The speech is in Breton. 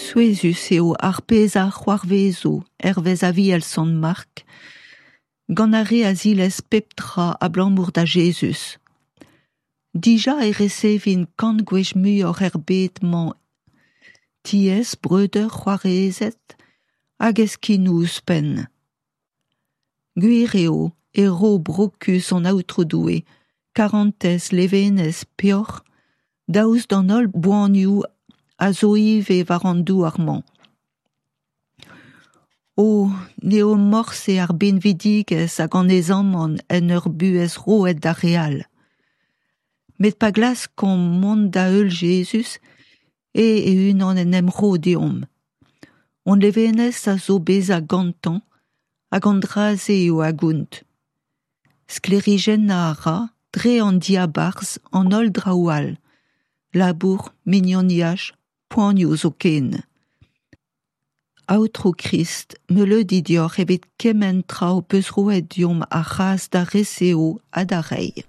Souezhus eo ar pezh a c'hoarvezo, hervez Aviel Sant Mark, gant ar re a zilez pep tra abalamour da Jezuz. Dija e resevint kant gwech muioc'h er bed-mañ tiez, breudeur, c'hoarezed hag heskinoù ouzhpenn. Gwir eo e ro brokus an Aotrou Doue, karantez, levenez, peoc'h, daoust d'an holl boanioù a zo ivez war an douar-mañ. O, n'eo morse ar binvidigezh hag an aezamant en ur buhez roet d'ar re all. Met pa glaskomp mont da heul Jezuz, eo e-unan en em ro deomp. Hon levenez a zo bezañ gantañ hag an dra-se eo a gont. Sklêrijennañ a ra, dre an diabarzh, an holl draoù all, labour, mignoniaj, poanioù zoken. Aotrou Krist, meuleudi deoc'h evit kement tra ho peus roet deomp ar c'hras da resev ha da reiñ.